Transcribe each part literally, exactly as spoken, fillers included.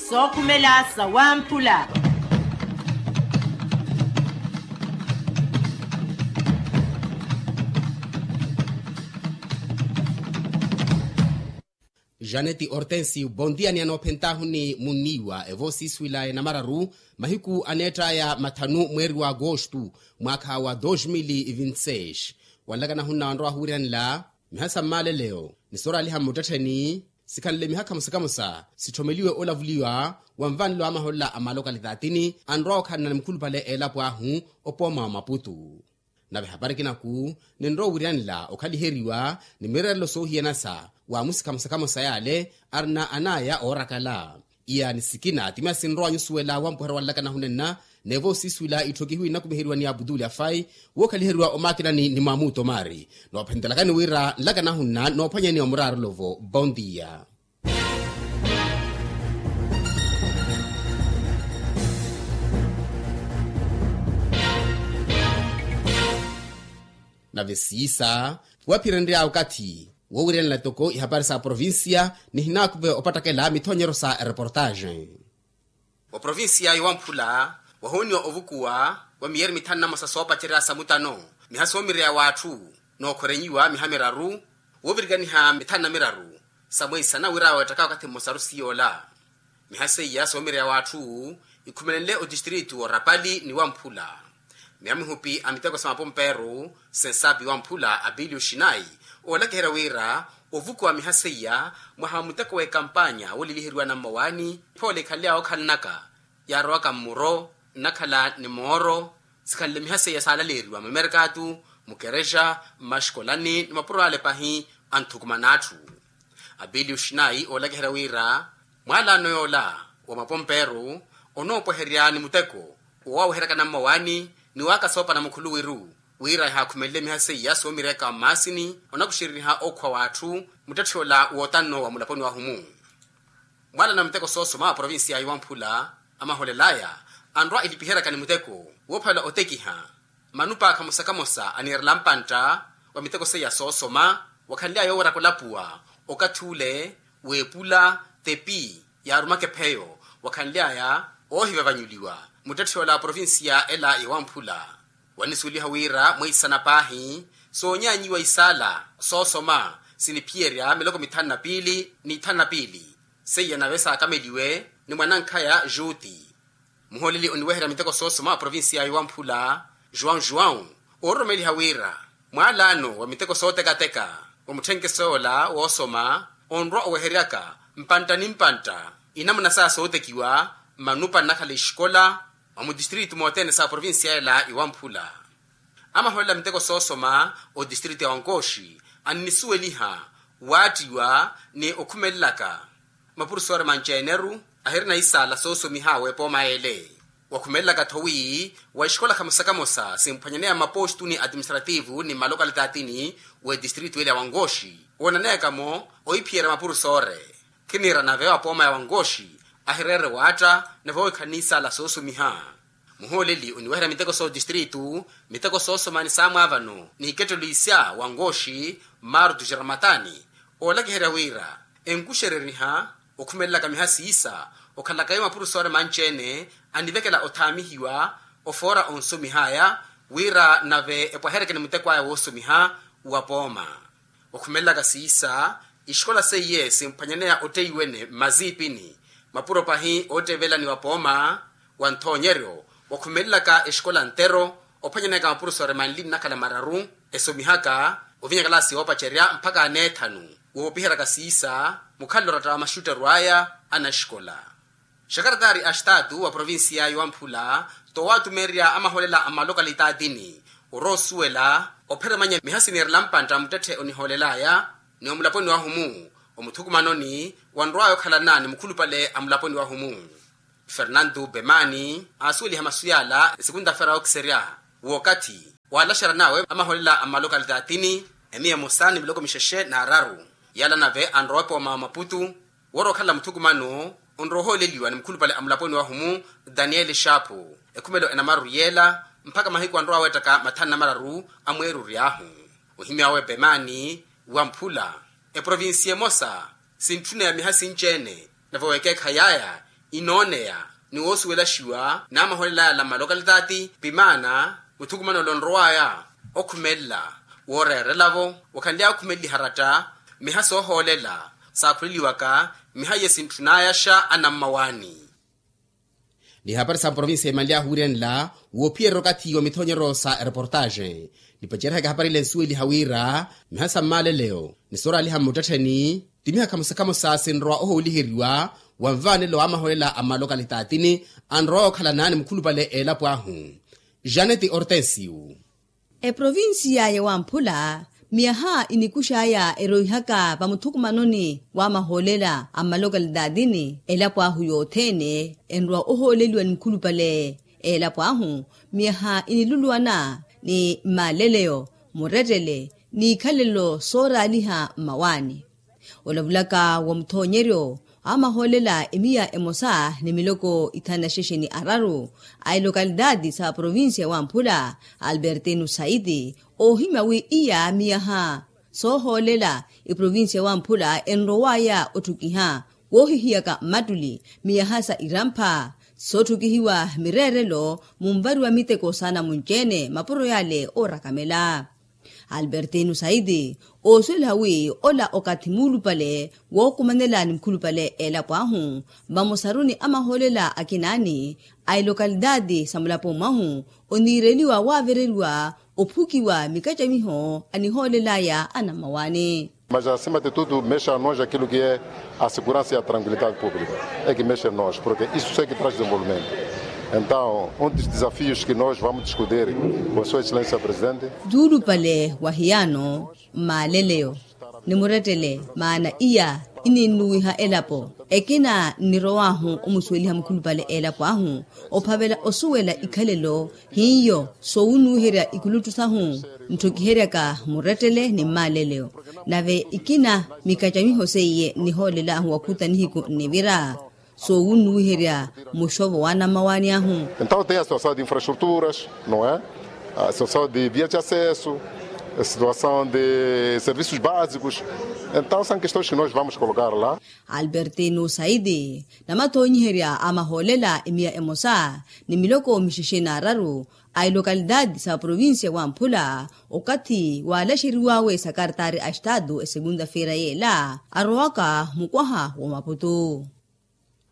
Sookhumela sa wamphula. Janeti hortensio bondia ni anoophentahuni munniiwa evoosiiswila enamararu mahiku aneett'aya mathanu mweeri wa agostu mwaakha wa dos mil vinti seis. Wanlakana hunna wanrowa ahuwirihanela miha sa mmaaleleyo ni sooraaliha mmuttettheni sikhanle miha khamosa khamosa sitthomeliwe olavuliwa wa nvanelo a maholela a malokalitaatini anrowa okhalana ni mukhulupale eelapo ahu opooma wa maputu. Nave hapari kinaku ninrowa owiriyanela okhaliheriwa ni mireerelo soohiyanasa wa amusi khamosa khamosa yaale arina anaya oorakala. Iya ni sikina ti miya sinrowa nyusuwela wampuherya wanlakana hunenna nevo siisuwila itthokihiwe inakumiheriwa ni aputuli afai wookhaliheriwa omakinani ni mwamuuto maari. Noophentelakani wira nlakana hunna noophwanyani wa muraarolovo bondia. Nave siisa waphirenrya okathi woowiryanela toko ihapari sa provincia nihinaakuve opattakela mithoonyeryo sa ereportaxe. Wa provincia ya wamphula wahooniwa ovukuwa wa miyeeri mithanu na mosa soopacerya sa mutano miha soomireya w'atthu nookhorenyiwa miha miraru woovirikaniha mithanu na miraru sa mweisana wira weettaka wakathi mmosaru siyoola. Miha seiya soomireya w'atthu ikhumelenle otistritu orapali ni wamphula. Miha mihupi a miteko sa mapompeeru sensapi wamphula apiliyo xinayi oolakiherya wira ovukuwa miha seiya mwaha wa muteko w'ekampanya wooliliheriwa na mmawaani phoole ikhanly'awe okhalanaka yaarowaka mmuro nnakhala ni mooro sikhanle miha seiya saalaleeriwa mmamerkatu mukerexa mmaxikolani ni mapuro ale pahi. Anthukumana atthu apiliyo xinayi oolakiherya wira mwaalaano yoola wa mapompeeru onoopweherya ni muteko woowaweheryaka na mmawaani ni waakasoopana mukhuluwiru wira ehaakhumelele miha seiya soomireyaka mmaasini onakuxereriha okhwa w'atthu muttetthi ola wootanno wa mulaponi wahumu. Mwaalana muteko soosoma wa provincia ya wamphula amaholelaya anrwa ilipiheryaka ni muteko woophalela otekiha manupa khamosa khamosa aniirela mpantta wa miteko seiya soosoma wakhanly'aya yooweraka olapuwa okathi ule w'epula tepi yaarumaka epheyo wakhanly'aya oohivavanyuliwa muttetthi ola provincia ela ya wamphula. Wanisuweliha wira mweisana paahi soonyaanyiwa isaala soosoma siniphiyerya miloko mithanu na piili ni ithanu na piili seiya nave saakameliwe ni mwanankhaya juti. Muhooleli oniweherya miteko soosoma a provincia ya wamphula juwau juwau oororomeliha wira mwaalaano wa miteko sootekateka wa mutthenkeso yoola woosoma onrwa oweheryaka mpantta ni mpantta inamuna saya sootekiwa mmanupa nnakhala exikola mwa mutistritu mothene sa provincia ela ya wamphula. Amaholela miteko soosoma otistritu ya wankooxi annisuweliha waattiwa ni okhumelelaka mapurusori manci-ene-ru ahirina isaala soosomiha w'epooma ele wakhumelelaka-tho wi wa exikola khamosa khamosa simphwanyaneya mmapostu ni atiministrativu ni mmalokalitaatini w'etistritu ele ya wankooxi woonaneyaka-mo ohiphiyerya mapurusori. Khiniira nave wa pooma ya wankooxi ahireere waatta nave ohikhani isaala soosomiha. Muhooleli oniweherya miteko sootistritu miteko soosoma ni saamwaavano ni hikettelo isya wankooxi martu xiramatani oolakiherya wira enkuxereriha okhumelelaka miha siisa okhalaka yo mapurusori manci-ene anivekela othaamihiwa ofoora onsomih'aya wira nave epwaheryeke ni muteko aya woosomiha wa pooma. Okhumelelaka siisa exikola seiye simphwanyaneya otteiwene mmaziipini mapuro pahi oottevelaniwa pooma wa nthoonyeryo wakhumelelaka exikola ntero ophwanyaneyaka mapurusori manli nnakhala mararu esomihaka ovinya kalaasi yoopacerya mpakha aneethanu woopiheryaka siisa mukhalelo oratta wa maxutteru aya anaxikola. Xakaratari a xitaatu wa provincia ya wamphula towatumerya amaholela a malokalitaatini oroosuwela opheremanya miha siniirela mpantta muttetthe onihoolelaya ni omulaponi wahumu omuthukumanoni wanrwaya okhalana ni mukhulupale a mulaponi wahumu. Fernandu bemani aasuweliha masu yaala esikunta fera okiserya w'okathi waalaxeryan'awe amaholela a malokalitaatini emiya emosa ni miloko mixexe n'araru yaala nave anrowa epooma wa maputu woora okhala muthukumano onrowa ohooleliwa ni mukhulupale a mulaponi wahumu daniel xaapu ekhumelo enamaru yeela mpakha mahiku anrowa weettaka mathanu namararu a mweeruri ahu. Ohimy'awe pemaani wamphula eprovinsiya emosa sintthuna ya miha sinci-ene nave weekeekhayi aya Inooneya ni woosuwelaxiwa n'amahoolela ala mmalokalitati pimaana muthukumanelo onrow'aya okhumelela wooreerela-vo wakhanly'aya okhumeleliha ratta miha soohoolela saakhuleliwaka miha iye sintthunayaxa anammawaani. Ni hapari sa provinsi emanly'ahu wiirenla woophiyererya okathi wa mithonyeryo sa ereportaxe nipacerihaka hapari ile nsuweliha wira miha sa mmaaleleyo ni sooraaliha mmuttettheni ti miha khamosa khamosa sinrowa ohooliheriwa wa nvaanelo wa amahoolela a mmalokalitatini anrowa okhalana ni mukhulupale eelapo ahu. Janeti ortensiu. Eprovinsiya ya wamphula miyaha inikux'aya eroihaka vamuthukumanoni wa mahoolela a mmalokalitatini elapo ahu yothene enrowa ohooleliwa ni mukhulupale eelapo ahu miyaha iniluluwana ni mmaaleleyo murettele n'ikhalelo sooraaliha mmawaani. Olavulaka wa muthoonyeryo amahoolela emiya emosa ni miloko ithanu na xexe ni araru a ilokalitati sa provinsiya wamphula albertino saiti oohimya wi iya miyaha soohoolela iprovinsiya wamphula enrow'aya otthukiha woohihiyaka mmattuli miyaha sa irampha sootthukihiwa mireerelo munvariwa miteko saanamunci-ene mapuro yale oorakamela. Albertino saiti oosuweliha wi ola okathi muulupale wookumanela ni mukhulupale eelapo ahu vamosaru ni amahoolela akinaani a ilokalitati sa mulapo mwahu oniireliwa waavereriwa ophukiwa mikacamiho anihoolel'aya anammawaani. Mas acima de tudo mexe a nós aquilo que é a segurança e a tranquilidade pública é que mexe a nós porque isso é que traz desenvolvimento. Então um dos desafios que nós vamos discutir com sua excelência presidente. Tuulupale wa hiyano mmaaleleyo ni murettele maana iya ininnuwiha elapo ekina nnirow'ahu omusuweliha mukhulupale elapo ahu ophavela osuwela ikhalelo hiyo soowunnuwiherya ikuluttu sahu ntthokiheryaka murettele ni mmaaleleyo nave ikina mikacamiho seiye nnihoolel'ahu wakhuta nihiku nnivira soowunnuwiherya muxovo wa anammawaani ahu. Então tem a situação de infraestruturas, não é? A situação de vias de acesso, a situação de serviços básicos. Então são questões que nós vamos colocar lá. Albertino saiti namathoonyiherya a mahoolela emiya emosa ni miloko mixexe n'araru a ilokalitati sa provinsiya wamphula okathi waalaxeriwawe sa kartaari a estatu esegunta-feira yeela arowaka mukwaha wa maputu.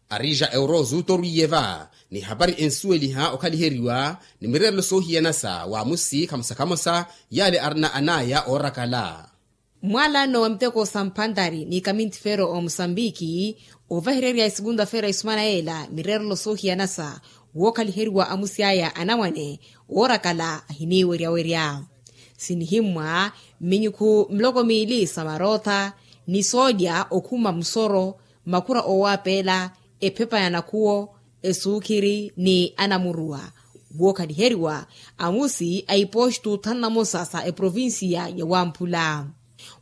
Arija eurozu torwiye va ni hapari ensuweliha okhaliheriwa ni mireerelo soohiyanasa waamusi khamosa khamosa yaale arina anaya oorakala. Mwaalano wa miteko sa mphantari ni kamintifero omusambiki ovahererya esegunta-feira esumana yeela mireerelo soohiyanasa wookhaliheriwa amusi aya anamwane oorakala ahiniweryawerya sinihimmwa mminyukhu miloko miili sa marootha ni soolya okhuma musoro makhura oowapeela ephepa ya nakhuwo esuukhiri ni anamuruwa wookhaliheriwa amusi a ipostu thanu na mosa sa eprovinsiya ya wamphula.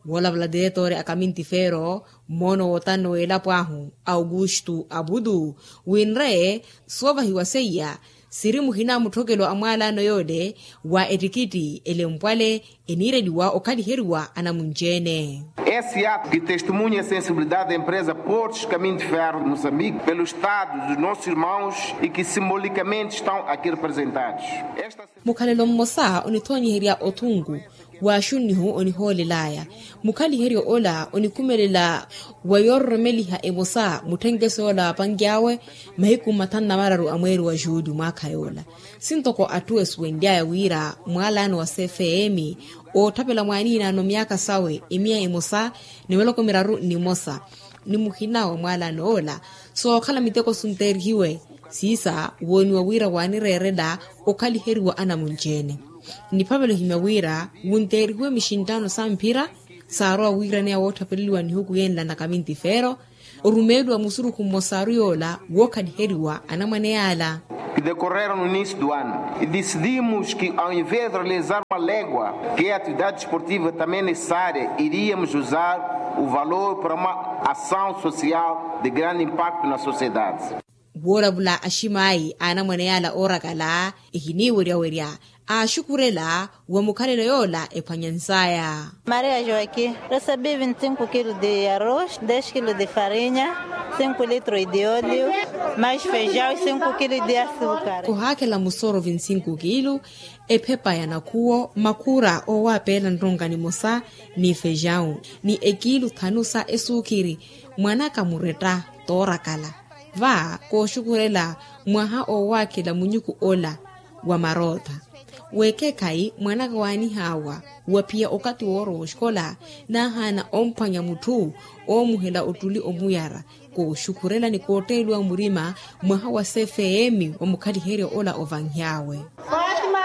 Woolavula diretori a kamintifero mmoono wootano w'elapo ahu augustu abutu winre soovahiwa seiya siri muhina mutthokelo a mwaalano yoole wa ettikitti elempwale eniireliwa okhaliheriwa anamunci-ene. Esse ato que testemunha a sensibilidade da empresa portos caminho de ferro de moçambique pelo estado dos nossos irmãos e que simbolicamente estão aqui representados. Mukhalelo mmosa onithoonyiherya othunku w'axunnihu onihoolel'aya mukhaliheryo ola onikhumelela wa yoororomeliha emosa mutthenkeso yoola waapanky'awe mahiku mathanu na mararu a mweeri wa juuli mwaakha yoola. Sintoko atthu esuwenly'aya wira mwaalano wa cfm ootthapela mwaaniinaano myaakha sawe emiya emosa ni miloko miraru ni mosa ni muhina wa mwaalano ola sookhala miteko sunteerihiwe siisa wooniwa wira waanireerela okhaliheriwa anamunci-ene. Niphavela ohimya wira wunteerihiwe mixinttaano sa mphira saarowa wiiraneya wootthapereliwa nihuku yenla na kamintifero orumeeliwa musurukhu mmosaru yoola wookhaliheriwa anamwane yaala. Que decorreram no início do ano e decidimos que ao invés de realizar uma légua que é a atividade desportiva também necessária iríamos usar o valor para uma ação social de grande impacto na sociedade. Woolavula aximaayi a anamwane yaala oorakala ehiniweryawerya Aaxukhurela wa mukhalelo yoola ephwanyansaya. Maria joaquim, recebi vinte e cinco kilos de arroz, dez kilos de farinha, cinco litros de óleo, mais feijão e cinco kilos de açúcar. Kohaakhela musoro vinte e cinco kilos, ephepa ya nakhuwo, makhura owapeela nronka nimosa, ni feijão, ni ekilu thanu sa esukhiri. Mwanaka muretta toorakala. Va kooxukhurela mwaha owakhela munyuku ola wa marootha. Wekekhayi mwanaka waanihawa waphiya okathi woorowa oxikola, naahaana omphwanya mutthu oomuhela ottuli omuyara. Kooxukhurela ni kootteeliwa murima mwaha wa cfm wa mukhaliheryo ola ovanhyawe.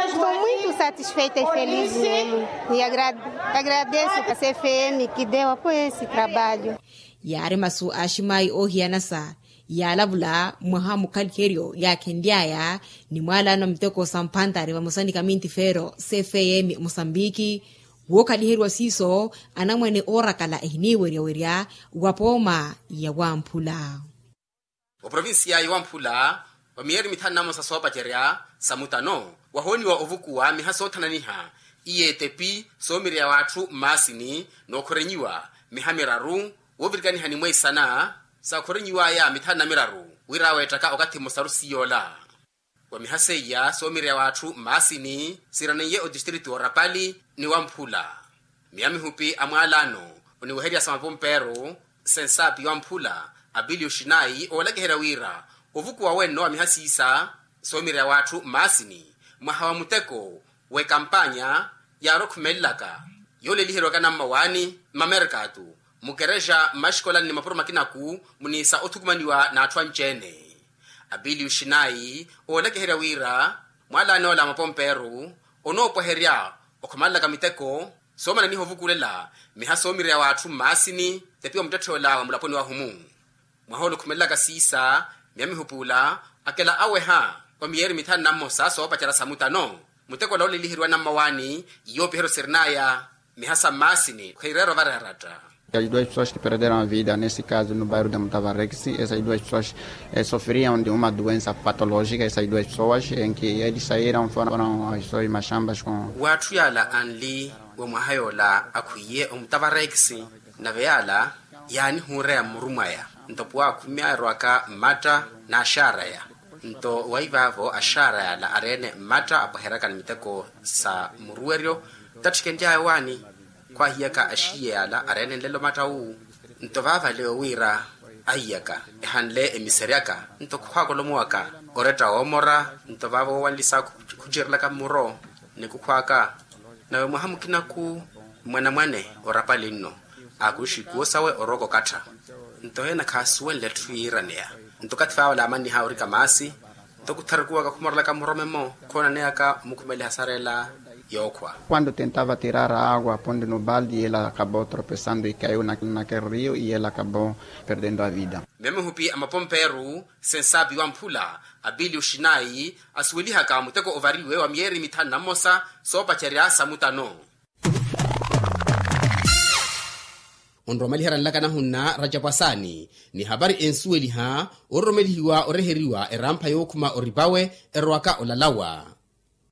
Estou muito satisfeita e feliz mesmo. E agradeço a cfm que deu apoio a esse trabalho. Yaari masu a aximaayi oohiyanasa yaalavula mwaha mukhaliheryo yaakhenly'aya ni mwaalano a miteko sa mphantari vamosa ni kamintifeero cfm mosambiki. Wookhaliheriwa siiso anamwane oorakala ehiniiweryawerya wa pooma ya wamphula. Oprovincia ya wamphula wa miyeeri mithanu na mmosa soopacerya sa mutano wahooniwa ovukuwa miha soothananiha, iyeetepi soomirya w'atthu mmaasini nookhorenyiwa miha miraru woovirikaniha ni mweisana. Saakhorenyiw'aya mithanu na miraru wira weettaka okathi mmosaru siyoola. Wa miha seiya soomirya w'atthu mmaasini siiraneiye otistritu orapali ni wamphula. Miya mihupi a mwaalano oniweherya sa mapompeeru sensaapi wamphula apiliyo xinayi oolakiherya wira ovukuwa wenno wa miha siisa soomirya w'atthu mmaasini mwaha wa muteko w'ekampanya yaari okhumelelaka yooleliheriwaka nammawaani mmamerkatu mukerexa mmaxikolani ni mapuro makinaku muniisa othukumaniwa n'atthu anci-ene. Apiliyo xinayi oolakiherya wira mwaalano ola a mapompeeru onoopweherya okhumalelaka miteko soomananiha ovukulela miha soomirya w'atthu mmaasini tepiwa muttetthe ola wa mulaponi wahumu. Mwaha ola okhumelelaka siisa miya mihupi ula akela aweha wa miyeeri mithanu na mmosa soopacerya sa mutano muteko ola ooleliheriwa nammawaani yoopiheryo sirin'aya miha sa mmaasini khwiireera ovaraaratta. As duas pessoas que perderam a vida nesse caso no bairro de mutavarexi essas duas pessoas sofriam de uma doença patológica essas duas pessoas em que eles saíram foram as suas machambas com. W'atthu yaala anli wa mwaha yoola akhwiiye omutavarekisi nave yaala yaanihuureya mmuru mwaya nto puwa akhumi aerowaka mmatta n'axaaraya. Nto waivaavo axaara yaala areene mmatta apweheryaka ni miteko sa muruweryo tattikenly'aya owaani khwaahiyaka axiiye yaala areene nlelo matta wu. Nto vaavale owiira ahiyaka ehanle emiseryaka nto khukhwaaka olomowaka oretta woomora nto vaavo woowanlisa khucerelaka mmuro ni kukhwaaka. Nawe mwaha mukinaku mwanamwane orapali nno aakuxi ikuwo sawe orooka okattha nto heena khaasuwenle etthu yiiraneya. Nto okathi vaawala aamanniha orika maasi nto kutharukuwaka khumorelaka muromemo khoonaneyaka omukhumeliha sareela yookhwa. Quando tentava tirar a água pondo no balde e ela acabou tropeçando e caiu naquele rio e ela acabou perdendo a vida. Miya mihupi a mapompeeru sensaapi wamphula apiliyo xinayi asuwelihaka muteko ovariwe wa miyeeri mithanu na mmosa soopacerya sa mutano. Onromaliherya nlaka nahunna racapu asaani ni hapari ensuweliha ororomelihiwa oreheriwa erampha yookhuma oripawe erowaka olalawa.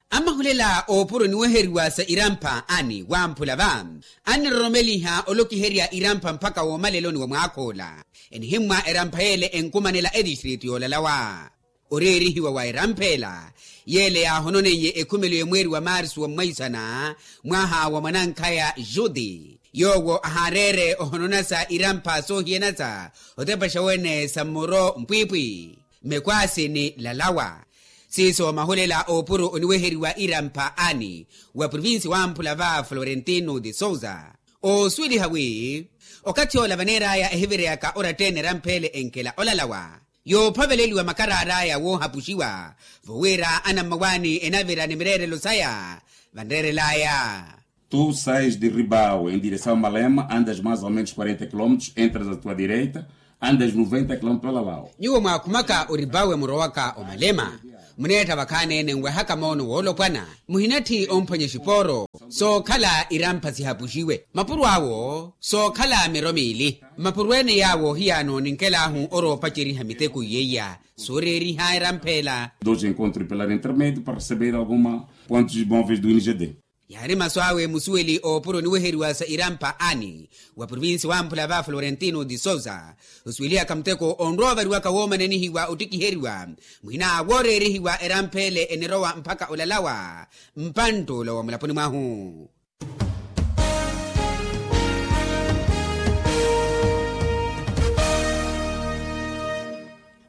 Amahulela oopuro niweheriwa sa irampha ani wamphula va aniroromeliha olokiherya irampha mpakha woomaleloni wa mwaakh'ola enihimmwa erampha yeele enkumanela etistritu yoolalawa. Oreerihiwa wa eramphela yeele yaahononeiye ekhumelo y'emweeri wa marsu wa mwaisana mwaha wa mwanankhaya juti yoowo ahaareere ohononasa irampha soohiyanasa otepaxa wene sa mmuro mpwiipwi mekwaasi ni lalawa. Siiso mahulela oopuro oniweheriwa irampha ani wa provinsi wamphula va florentino de sousa oosuweliha wi okathi ola vaneer'aya ehivireyaka oratta-ene eramphele enkela olalawa yoophaveleliwa makaraar'aya woohapuxiwa vowira anammawaani enavira ni mireerelo saya vanreerel'aya. Tu sais de ribau em direção a malema andas mais ou menos quarenta quilómetros entras a tua direita andas noventa quilómetros olalawa. Nyuwo mwaakhumaka oribawe murowaka omalema Muneetta vakhaani-ene nwehaka moono woolopwana, muhinatthi omphwanya exipooro sookhala irampha sihapuxiwe mapuro awo sookhala miro miili. Mapuro ene yaawo hiyaano ninkelaahu oroopaceriha miteko iyeiya sooreeriha erampha ela. Dos encontros pela intermedio para receber alguma pontos móveis do ingd. Yaari masu awe musuweli oopuro oniweheriwa sa irampha ani wa provincia wamphula va florentino de sousa osuwelihaka muteko onrowa ovariwaka woomananihiwa ottikiheriwa mwina wooreerihiwa erampha ele enirowa mpakha olalawa mpantt'ula wa mulaponi mwahu.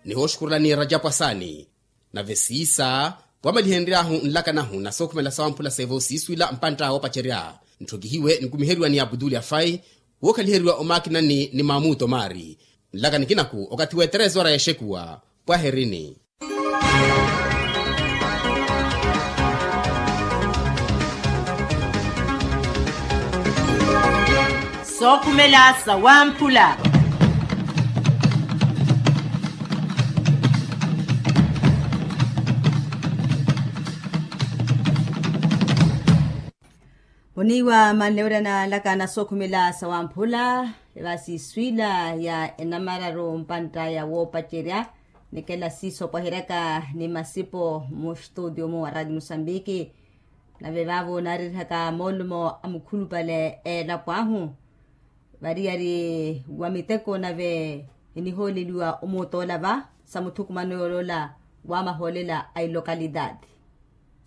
Nihooxukhurulani rajapu asaani. Nave siisa wamalihenry'ahu nlaka nahu na sookhumela sawamphula seevo siiswila mpantta woopacerya ntthokihiwe nkumiheriwa ni abutuli afai wookhaliheriwa omaakinani ni maamuto maari. Nlaka nikinaku okathi w'eterezora y'exekuwa pwaherini. Sookhumela sawamphula. Oniiwa manlewera na laka na sookhumela sawamphula. Evasiiswiila ya enamararu mpantta ya woopacerya nikela siisopwaheryaka ni masipo muxtuudiyo mu wa raati musambiki. Nave vaavo naaririhaka moolumo a mukhulupale eelapo ahu variyari wa miteko nave enihooleliwa omuutoola va sa muthukumano yooloola wa mahoolela a ilokalitaati.